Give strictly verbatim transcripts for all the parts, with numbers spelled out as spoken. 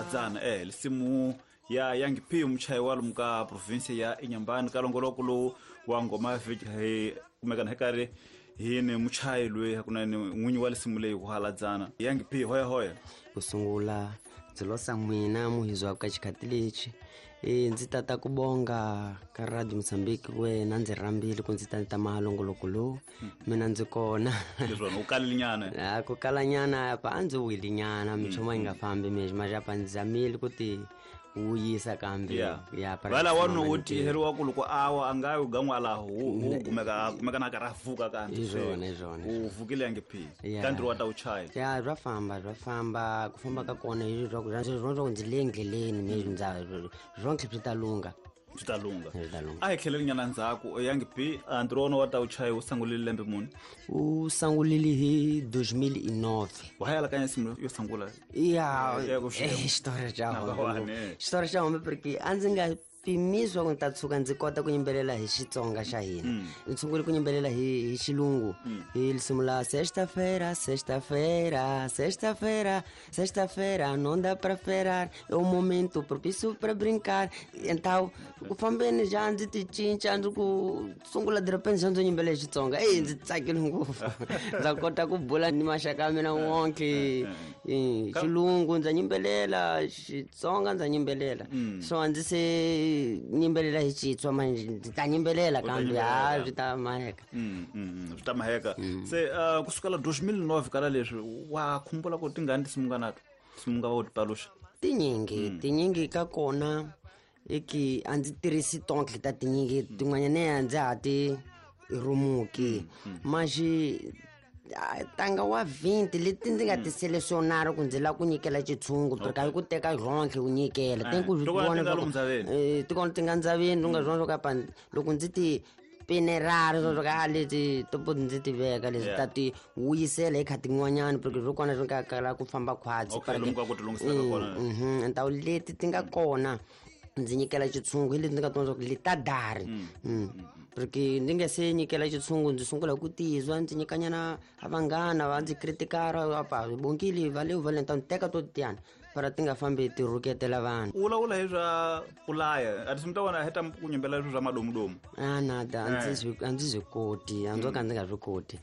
Haladzana eh lisimu ya Young P muchayi wa lomu ka province ya Inhambane ka longoloko lowu wa ngoma ya vhiki hi kumekana hi karhi hi ni muchayi loyi hakunene n'winyi wa lisimu leyi ku Haladzana. Young P hoya hoya. Ku sungula ndzi losa n'wina muhizwa ka xikhathi lexi e ndzi tata ku bonga ka Radio Mozambique wena ndzi rhambile ku ndzi ta ta mahalongoloko lowu mina ndzi kona. Leswona u kalile nyana? A ku kalanyana apa a ndzi wile nyana minchumu yi nga fambi mexi maxa apa ndzi zamile ku ti wuyisa kambe ya vala wa no tiheriwa ku loko awa a nga yu gan'walaho wu kumeka kumeka na karhi a vuka kambe. Hi swona hi swona u vukile Young P ka ntirho wa ta wu chaya. Ya bya famba bya famba ku famba ka kona hi swa ku swa ku ndzi le ndleleni mexi ndza swonke swi ta lungha. Swi ta lungha. Swi ta lungha. A hi tlheleli nyana ndzhaku Young P ntirho wa wena wa ta wu chaya wu sungulile lembe muni? U sungulile hi deux mille neuf. Wa ha alakanya nsimu yo sungula? Ya xitori xa hombe. Xitori xa hombe porque a ndzi nga pimisiwa ku ni ta tshuka ndzi kota ku yimbelela hi Xitsonga xa hina. Ndzi sungule ku yimbelela hi hi xilungu hi risimu la sexta-feira, sexta-feira, sexta-feira, sexta-feira, não dá pra esperar, é o momento propício pra brincar. Então ku fambeni já ndzi ti cinca ndzi ku sungula de repente xa ndzi yimbelela hi Xitsonga. Eyi ndzi tsakile ngopfu. Ndza kota ku bula ni maxaka ya mina wonke xilungu ndza yimbelela, Xitsonga ndza yimbelela. So a ndzi se nyimbelela hi Xitswa manje ndzi ta nyimbelela kambe ha swi ta maheka. Swi ta maheka. Se kusukela deux mille neuf kala leswi wa khumbula ku tingani tinsimu nga nato tinsimu nga va u ti paluxa? Tinyingi tinyingi ka kona eki a ndzi tirhisi tonke ta tinyingi tin'wanyana a ndza ha ti rhumuki maxi tanga wa vinte leti ndzi nga ti selecionar ku ndzi lava ku nyikela xitshungu porque a yi ku teka ronke u nyikela te ku swi vona eh ti kona ti nga ndzaveni u nga swona swo ka loko ndzi ti pinerari swo ka leti to ndzi ti veka leswi ta ti wuyisela hi kha tin'wanyana porque swo kona swi nga kala ku famba khwatsi mhm ntawu leti ti nga kona ndzi nyikela xitshungu hi leti ndzi nga tona swa ku leti ta dari. Porque ndzi nga se nyikela xitshungu ndzi sungula ku tizwa ndzi nyikanyana a vanghana va ndzi critikara apa bonkile va le va le ta teka to tiyana para ti nga fambi ti rhuketela vanhu. U vulavula hi swa ku laya a tinsimu ta wena heta ku nyimbelela swilo swa madomudomu? A nada a ndzi swi a ndzi swi koti a ndzo ka ndzi nga swi koti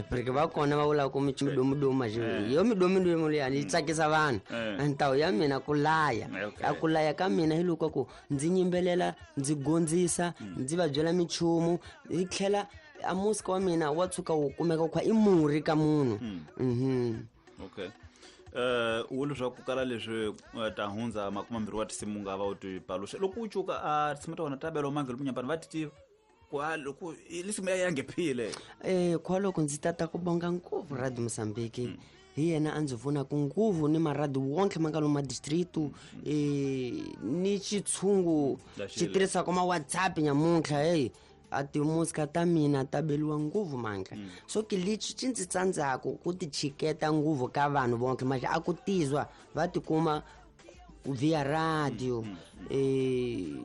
porque va kona va vulaka ku midomudomu maxi yo midomudomu liyani yi tsakisa vanhu. Ntawu ya mina ku laya a ku laya ka mina hi loko ku ndzi nyimbelela ndzi gondzisa ndzi va byela minchumu hi tlhela a musika wa mina wa tshuka wu kumeka wu kha i murhi ka munhu. Mhm. Okay. Eh u leswaku kala leswi ta hundza makume mbirhi wa tinsimu nga va u ti paluxa loko u cuka a tinsimu ta wena ta bela mangelo munyambani va ti tiva ku a loko lisimu ya Young P le. Eh kwaloko ndzi tata ku bonga ngopfu Radio Mozambique hi yena a ndzi pfunaka ngopfu ni maradi wonke ma nga lomu madistritu eh ni xitshungu xi tirhisaka ma WhatsApp nyamuntlha hey a timusika ta mina ta beliwa ngopfu manka. So ke lexi xi ndzi tsandzaka ku ti chiketa ngopfu ka vanhu vonke maxa a ku tizwa va tikuma via radio eh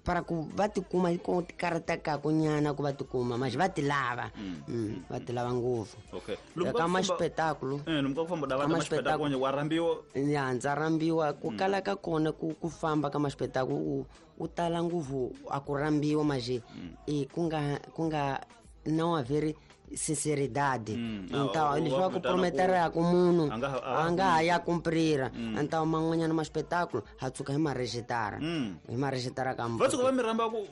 para ku va tikuma ku ti karhatekaka nyana ku va tikuma maxa va ti lava va ti lava ngopfu. Okay. Ka ma-spectacle eh lomu ka ku famba da va ta ma-spectacle wa rhambiwa? Ya ndza rhambiwa ku kala ka kona ku ku famba ka ma-spectacle u u tala ngopfu a ku rhambiwa maje e ku nga ku nga não haver sinceridade. Então leswi va ku prometeraka munhu a nga ha ya cumprira. Então man'wanyana ma espetáculo ha tshuka hi marejitara hi marejitara ka va tshuka va mi rhamba ku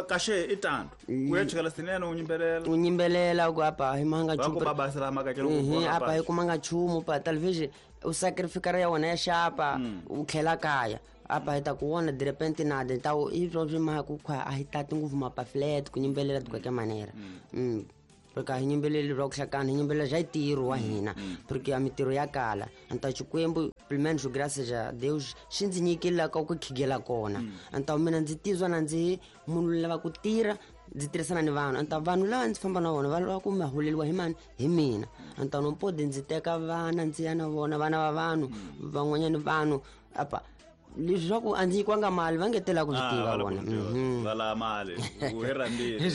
kaxe i tando u ya chikela sinene u yimbelela u yimbelela ku apa hi manga nchumu va ku babasela makakelo ku apa hi kumanga nchumu pa talvez u sacrificar ya wena ya xapa u tlhela kaya apa hi ta ku vona de repente nada. Então i swo swi mhaka ku a hi tati ngopfu mapaflet ku yimbelela de qualquer maneira. Porque a hi yimbeleli bya ku hlakana hi yimbelela bya ntirho wa hina porque a mintirho ya kala. Então Xikwembu pelo menos graças a Deus xi ndzi nyikile la ka ku khigela kona. Então mina ndzi tizwa na ndzi munhu lava ku tirha ndzi tirhisana ni vanhu. Então vanhu lava ndzi famba na vona va lava ku ma holeliwa hi mani hi mina. Então no pode ndzi teka vana ndzi ya na vona vana va vanhu van'wanyana vanhu apa Leswi swa ku a ndzi nyikiwanga mali va nge tela ku swi tiva vona. Va lava mali u hi rhandzile.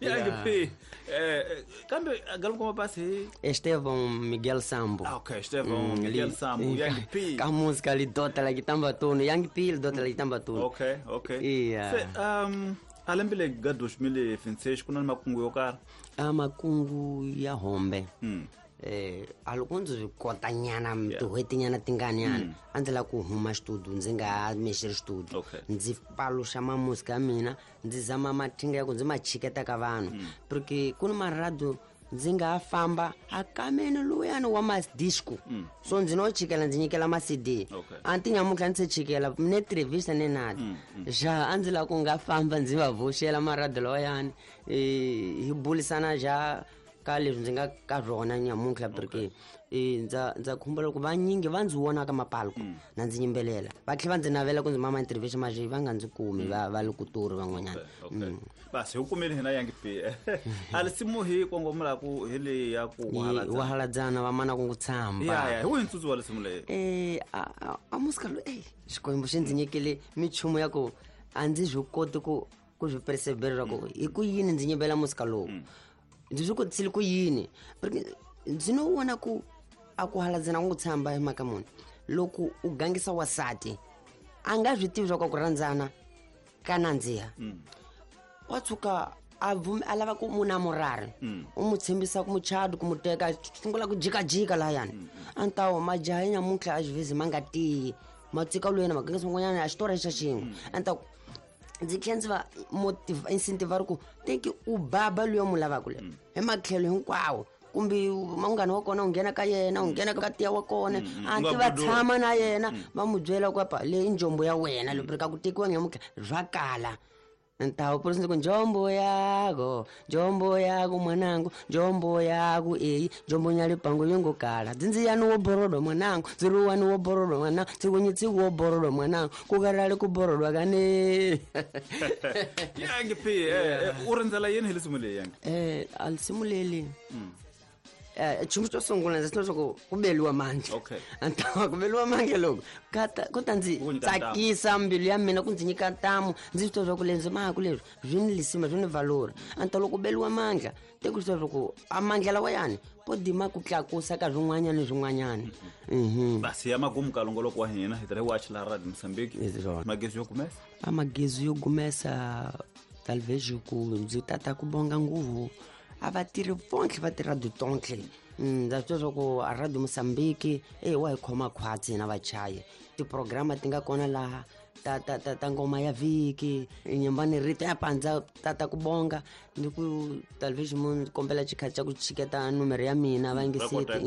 Young P, eh kambe galoko mapasi hi Estevão Miguel Sambo. Ah, okay, Estevão Miguel Sambo, Young P. Ka música lidota la kitamba tunu, Young P lidota la kitamba tunu. Okay, okay. Yeah. Se um a lembe le ga dois mil e vinte e seis ku na makungu yo karhi? A makungu ya hombe. Mm. Eh a loko ndzi swi kota nyana tin'hweti nyana tinganyana a ndzi lava ku huma studio ndzi nga mexeri studio. Okay. Ndzi paluxa mamusika ya mina, ndzi zama mathinga ya ku ndzi ma chiketa ka vanhu. Porque ku ni marado ndzi nga famba a kameni luyani wa madisco. So ndzi no chikela ndzi nyikela ma C D. Okay. A ti nyamutlha ndzi chikela ne entrevista ne nada. Ja a ndzi lava ku nga famba ndzi va voxela marado lawayani, eh hi bulisana ja ka leswi ndzi nga ka rona nyamuntlha porque eh ndza ndza khumbula ku vanyingi va ndzi vona ka mapalko na ndzi yimbelela va tlhela va ndzi navela ku ndzi mama interview maje va nga ndzi kumi va va le kutori van'wanyana. Okay. Basi hi kumile hina Young P. A lisimu hi kongomela ku hi leyi ya ku wa haladzana va mana ku tshamba. Ya ya hi wihi ntsutsu wa lisimu leyi? Eh a a musika lo eh Xikwembu xi ndzi nyikile michumu ya ku a ndzi swi koti ku ku swi perseverera ku hi ku yini ndzi nyimbela musika lowu. Ndzi swi kotisile ku yini porque ndzi no vona ku a ku haladzana ku tshamba hi mhaka muni loko u gangisa wasati a nga swi tivi swa ku rhandzana ka nandziha. Wa tshuka a a lava ku munamurari u mu tshembisa ku muchado ku mu teka sungula ku jikajika lahayani a ni ta wo majaha ya nyamuntlha a xivhezi ma nga tiyi ma tsika lwena ma gangisa n'wanyana a xitori xa xin'we a ni ta ku ndzi tlhela ndzi va motiva incentive ri ku teki u baba luya mu lavaka le hi matlhelo hinkwawo kumbe munghana wa kona u nghena ka yena u nghena ka tiya wa kona a ti va tshama na yena va mu byela ku apa leyi njombo ya wena loko ka ku tekiwa nyamuntlha swa kala. Ntawo por ku njombo yako njombo yako mwanangu njombo yako eyi njombo nyalipango yongo kala dzinziyani wo borodo mwanangu dziruwani wo borodo mwanangu tsikunyi wo borodo mwanangu kukarale ku borodwa kane. Young P, eh u rindzela yini hi lisimu leyi Young? Eh a lisimu leli eh nchumu xo sungula ndzi leswaku ku beliwa mandla. Okay. Antawa ku beliwa mandla loko kata ku ta ndzi tsakisa mbilu ya mina ku ndzi nyika ntamu ndzi swi tiva ku leswi maku leswi swi ni lisima swi ni valori. Anta loko beliwa mandla te ku swi ku a mandla lawa yani po dima ku tlakusa ka swin'wanyana ni swin'wanyana. Mhm. Basi ya magumu ka longoloko wa hina hi tirhe watch la Radio Mozambique. Magezi yo gumesa? A magezi yo gumesa talvez ku ndzi tata ku bonga nguvu a va tirhi vontlhe va tirha tontlhe. Ndza swi tiva ku a Radio Mozambique e wa hi khoma khwatsi hina vachayi tiprograma ti nga kona laha ta ta ta ta ngoma ya vhiki nyumbani rito ya pandza tata ku bonga ni ku television mun kombela xikhathi xa ku chiketa numero ya mina va nge seti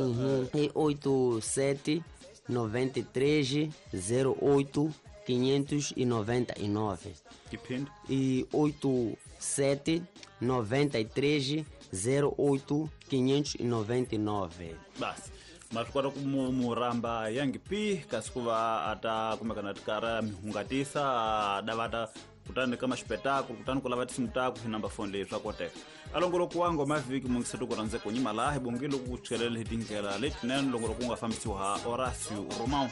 i oito sete noventa e três zero oito quinhentos e noventa e nove. Depende. E oito sete noventa e três zero oito quinhentos e noventa e nove. Basi ma swi kota ku mu rhamba Young P kasi ku va a ta kumekana tikara mi hungatisa da va ta kutani ka maxipetaku kutani ku lava tinsimu taku hi number phone leyi swa koteka. A longoloko wa ngoma vhiki mungiseto ku rhandze ku nyima laha hi bongile ku chikelela hi tindlela letinene longoloko wu nga fambisiwa ha Horacio Romão.